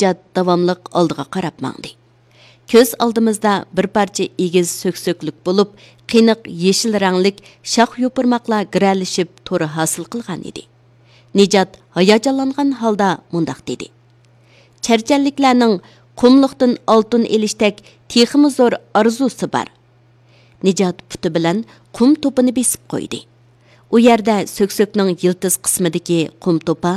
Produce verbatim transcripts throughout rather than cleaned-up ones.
نىجات داۋاملىق ئالدىغا قاراپ ماڭدى. كۆز ئالدىمىزدا بىر پارچە ئېگىز سۆكسۆكلۈك بولۇپ، قېنىق يېشىل رەڭلىك شاخ-يوپۇرماقلار گىرەلىشىپ تور ھاسىل قىلغان ئىدى. نىجات ھاياجانلانغان ھالدا مۇنداق دېدى: «چەرچەنلىكلەرنىڭ قۇملۇقتىن ئالتۇن ئېلىشتەك تېخىمۇ زور ئارزۇسى بار.» نىجات پۇتى بىلەن قۇم توپىنى بېسىپ قويدى. ئۇ يەردە سۆكسۆكنىڭ يىلتىز قىسمىدىكى قۇم توپا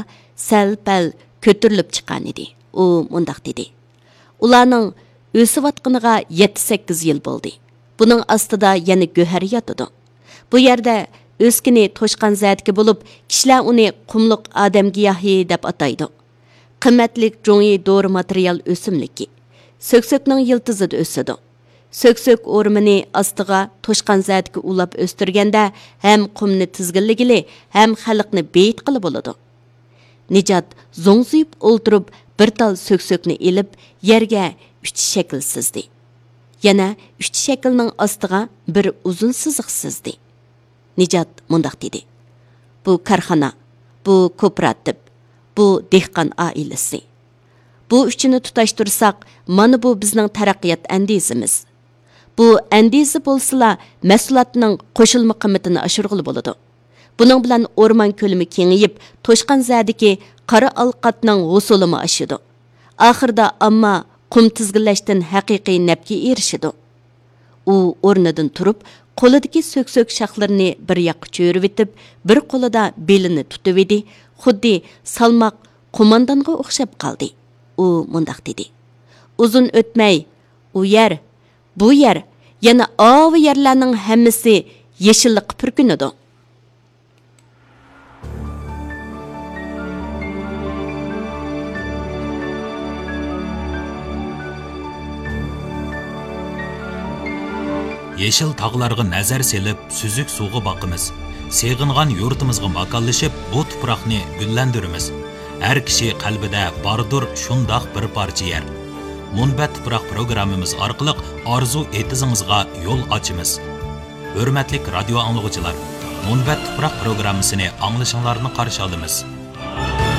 سەل-پەل كۆتۈرۈلۈپ چىققانىدى. ئۇ مۇنداق دېدى: «ئۇلارنىڭ ئۆسۈۋاتقىنىغا يەتتە-سەككىز يىل بولدى. بۇنىڭ ئاستىدا يەنە گۆھەر ياتىدۇ. بۇ يەردە ئۆسكىنى توشقان زەدىكى بولۇپ، كىشىلەر ئۇنى قۇملۇق ئادەم گىياھى دەپ ئاتايدۇ. قىممەتلىك جۇڭيى دورا ماتېرىيال ئۆسۈملۈكى. سۆكسۆكنىڭ يىلتىزىدا ئۆسىدۇ. سۆكسۆك ئورمىنى ئاستىغا توشقان زەدىكى ئۇلاپ ئۆستۈرگەندە، ھەم قۇمنى تىزگىنلىگىلى، ھەم خەلقنى بېيىتقىلى بولىدۇ.» نىجات زوڭزىيىپ ئولتۇرۇپ، بىر تال سۆكسۆكنى ئېلىپ، يەرگە ئۈچ شەكىل سىزدى. يەنە ئۈچ شەكىلنىڭ ئاستىغا بىر ئۇزۇن سىزىق سىزدى. نىجات مۇنداق دېدى: «بۇ كارخانا، بۇ كوپىراتىپ، بۇ دېھقان ئائىلىسى. بۇ ئۈچىنى تۇتاشتۇرساق، مانا بۇ بىزنىڭ تەرەققىيات ئەندىزىمىز. بۇ ئەندىزە بولسىلا، مەھسۇلاتنىڭ قوشۇلما قىممىتىنى ئاشۇرغىلى بولىدۇ. بۇنىڭ بىلەن ئورمان كۆلىمى كېڭىيىپ، توشقان زەدىكى قارا ئالقاتنىڭ ھوسۇلىمۇ ئاشىدۇ. ئاخىرىدا ئامما قۇم تىزگىنلەشتىن ھەقىقىي نەپكە ئېرىشىدۇ.» ئۇ ئورنىدىن تۇرۇپ، قولىدىكى سۆكسۆك شاخلىرىنى بىر ياققا چۆرۈۋېتىپ، بىر قولىدا بېلىنى تۇتۇۋىدى، خۇددى سالماق قوماندانغا ئوخشاپ قالدى. ئۇ مۇنداق دېدى: «ئۇزۇن ئۆتمەي، ئۇ يەر، بۇ يەر، يەنە ئاۋۇ يەرلەرنىڭ ھەممىسى يېشىللىققا پۈركىنىدۇ.» يېشىل تاغلارغا نەزەر سېلىپ، سۈزۈك سۇغا باقىمىز. سېغىنغان يۇرتىمىزغا ماكانلىشىپ، بۇ تۇپراقنى گۈللەندۈرىمىز. ھەر كىشى قەلبىدە باردۇر شۇنداق بىر پارچە يەر. مۇنبەت تۇپراق پروگراممىمىز ئارقىلىق ئارزۇ ئېتىزىڭىزغا يول ئاچىمىز. ھۆرمەتلىك رادىيو ئاڭلىغۇچىلار، مۇنبەت تۇپراق پروگراممىسىنى ئاڭلىشىڭلارنى قارشى ئالىمىز.